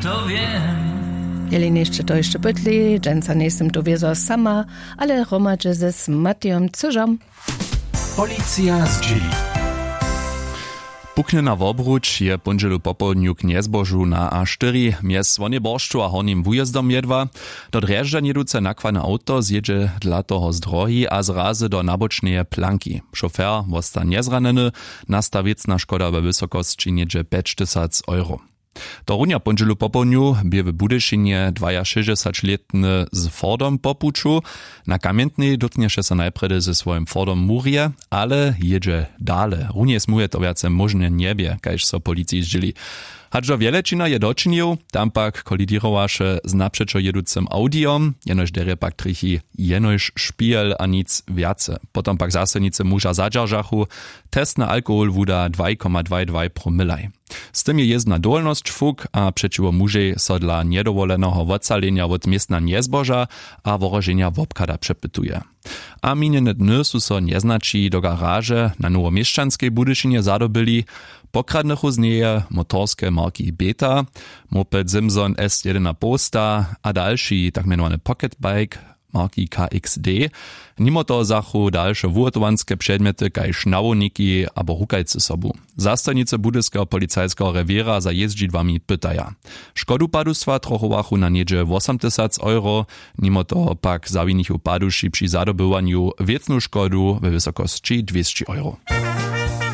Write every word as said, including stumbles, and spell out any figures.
To wěm. Jeli něšće to hišće pytli, dźensa njejsym tu wězo sama, ale hromadźe z matijom cyžom. Policija zdźěli. Puknjena wobruč je póndźelu popołdnju k njezbožu na a štyri mjez słonjej boršću a hornim wujězdom jedła. Do drježdźa njěduce nakładne awto zjědźe dla toho z drohi a zrazy do nabočneje planki. Šofer wosta njezranjeny. Nasta wěcna škoda we wysokosći něhdźe pjećtysac euro. To runja póndźelu popołdnju bě w budyšinje dwajašěsćdźesaćlětny z fordom po puću. Na kamjentnej dótknješe so najprjedy ze swojim fordom murje, ale jědźe dale. Runje smuje to wjace móžne njebě, kaž so policiji zdźěli. Hač do wjelečina je dočinił, tam pak koliděrowaše z napřećo jěducym awdijom. Jenož derje pak trjechi jenož špihel a nic wjace. Potom pak zastojnicy muža zadźeržachu. Testny alkohol wuda dwaj koma dwaj dwaj promilaj. Z tym je jězbna dowolnosć fuk a přećiwo mužej so dla njedowoleneho wocalenja wot městna njezboža a wohroženja wobchada přepytuje. A minjene dny su so njeznaći do garaže na nowoměšćanskej budyšinje zadobyli. Pokradnychu z njeje motorske marki beta, moped simson s jedyn a połsta a dalši tak mjenowany pocketbike marki k x d. Nimo toho zachu dalše wuhotowanske předmjety kaž nawołniki abo rukajcy sobu. Zastojnicy budyskeho policajskeho rewěra za jězdźidłami pytaja. Škodu padustwa trochowachu na něhdźe wosomtysac euro. Nimo toho pak zawinichu paduši při zadobywanju wěcnu škodu we wysokosći dwěsći euro.